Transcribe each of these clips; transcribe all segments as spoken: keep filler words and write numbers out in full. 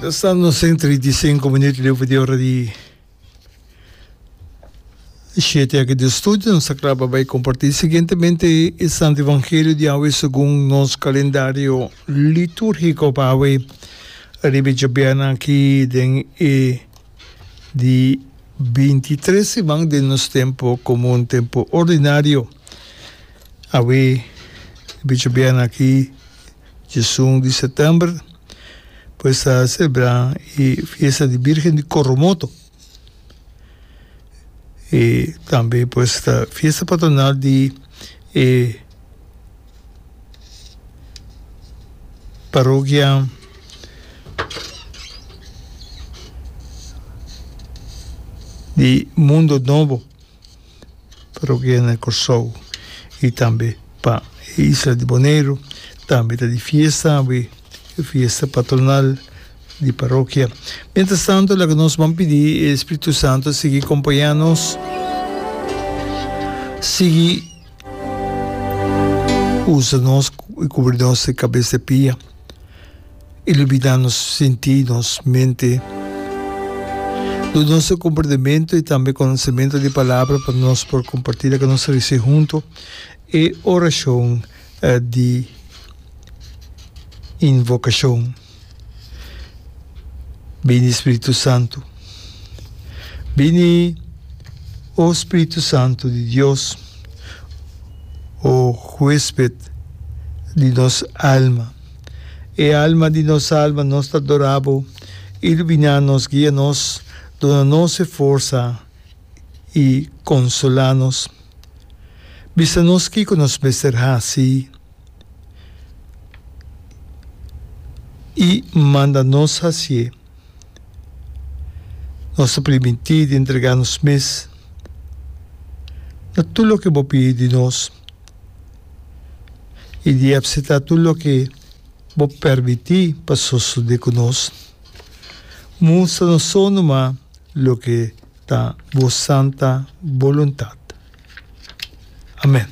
Mientras nos tin trinta i sinku minuut liu for di ora di shete aki den studio, nos ta kla pa bai kompartí siguientemente e Santo Evangelio di awe segun nos kalendario litúrgiko pa awe riba e djabièrnè aki den e di binti tres siman den nos tempu komun, tempu ordinario. Awe riba e djabièrnè aki diesun di sètèmber pues ta selebrá e fiesta di Birgen di Coromoto. E tambe pues ta fiesta patronal di e parokia di Mundo Nobo. Parokia na Kòrsou i tambe pa e isla di Boneiru. Tambe ta di fiesta awe, e fiesta patronal di parokia. Mientras tanto laga nos ban pidi e Spiritu Santo sigui kompañá nos, sigui usa nos i kubri nos di kabes te pia. Ilumina nos sintí, nos mente. Duna nos e komprendementu i tambe konosementu di Palabra pa nos por kompartí loke nos a risibi huntu e orashon di invokashon. Bini Spiritu Santu. Bini, o Spiritu Santu di Dios, o huesped di nos alma. E alma di nos alma, nos ta adorá Bo. Iluminá nos, guia nos, duna nos e forsa i konsolá nos. Bisa nos kiko nos mester hasi i manda nos hasié. Nos ta primintí di entregá nos mes na tur loke Bo pidi di nos. I di apseptá tur loke Bo permití pa sosodé ku nos. Mustra nos so numa loke ta Bo santa boluntat. Amèn.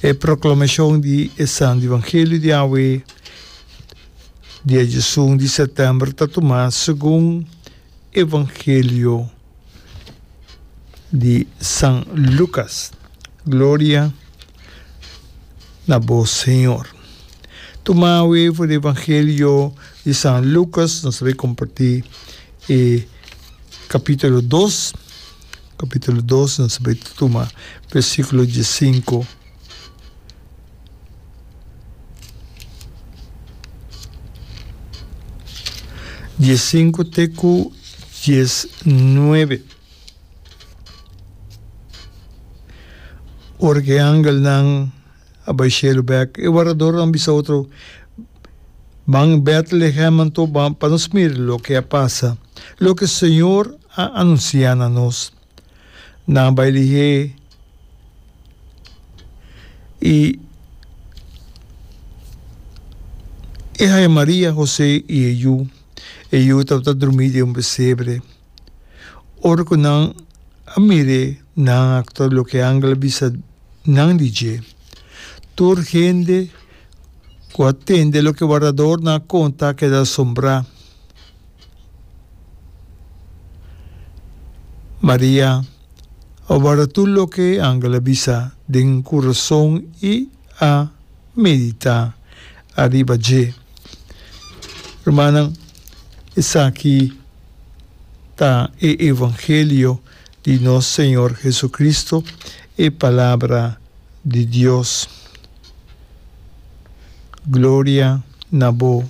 E proklamashon di e Santu Evangelio di awe, dia diesun di sètèmber, ta tumá segun Evangelio di San Lucas. Gloria na bo, Señor. Tuma awe for di Evangelio di San Lucas, nos ta bay comparti e capítulo dos, capítulo dos, nos ta bay tuma versículo diescinco. Diescinco te cu diesnuebe. Ora ku e angelnan a bai shelu bèk, e wardadornan a bisa otro, Ban Bètlehem anto pa nos mira loke a pasa, loke Señor a anunsiá na nos. Nan a bai lihé i e haña Maria, José i e yu. E yu tabata drumí den un pesebre. Ora ku nan a mir'é, nan a aktua loke e angel a bisa nan di dje. Tur hende ku a tende loke e wardadornan a konta a keda asombrá. Maria a warda tur loke e angel a bisa den kurason i a meditá ariba dje. Rumannan, esaki ta e evangelio di nos Señor Jesucristo, e Palabra di Dios. Gloria na bo,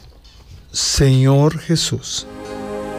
Señor Jesus.